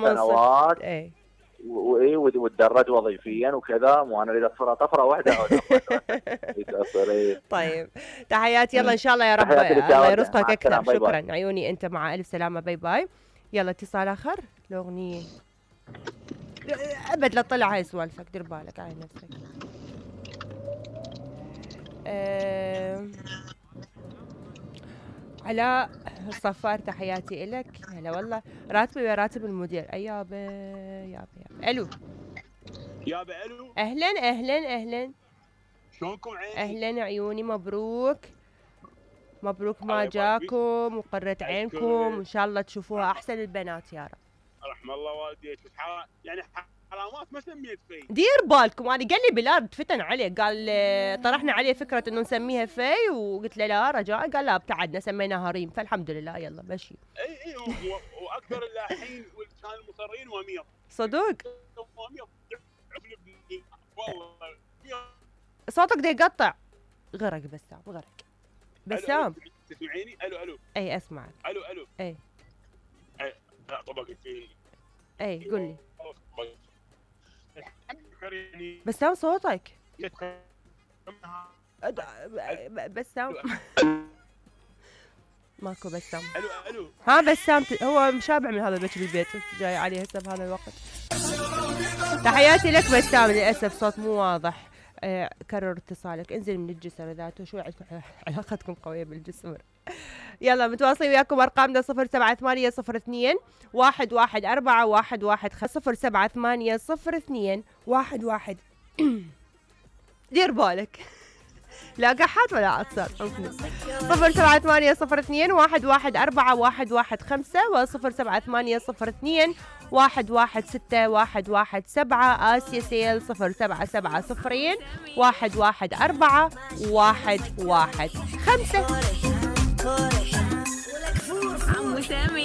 سنوات ايه وتدرج وظيفيا وكذا، مو انا اريد اطفرها طفره واحده طيب تحياتي، يلا ان شاء الله يا رب تحياتي لك يا الله وردة. يرزقك مع اكثر. السلامة. باي باي. شكرا عيوني انت، مع الف سلامه، باي باي. يلا اتصال اخر. الاغنيه ابد لا تطلع هاي سوالفك، دير بالك على نفسك. علاء الصفار تحياتي إلك. هلا والله. راتبي ويا راتب المدير. اي يابا يابا يابا. الو يابا الو. اهلا اهلا اهلا. شلونكم عيني؟ اهلا عيوني، مبروك مبروك ما الله يبارك فيك. جاكم وقرة عينكم، أشكرك. وان شاء الله تشوفوها احسن البنات يا رب. رحم الله والديك. يعني حرامات ما سميت في. دير بالكم، انا قال لي بلال فتن عليه، قال طرحنا عليه فكره انه نسميها في، وقلت له لا رجاء، قال لا ابتعدنا سميناها ريم، فالحمد لله يلا مشي. اي واكثر اللاحين كان المصرين وامير. صدق وامير والله صوتك ده يقطع. غرق بسام، غرق بسام. تسمعيني؟ الو اي اسمعك. الو اي لا طبعا فيني. اي قول لي يعني بسام صوتك. بسام ماكو بسام. الو ها بسام هو مشابع من هذا البيت بالبيت جاي عليه هسه بهذا الوقت. تحياتي لك بسام، للاسف صوت مو واضح. كرر اتصالك، انزل من الجسر ذاته. شو علاقتكم قويه بالجسر. يلا متواصلين وياكم. ارقامنا 07802 114 115 07802 دير بالك لا قحات ولا عطسان. 07802 114 115 و 07802 آسيا سيل 0770 114 115. عمو سامي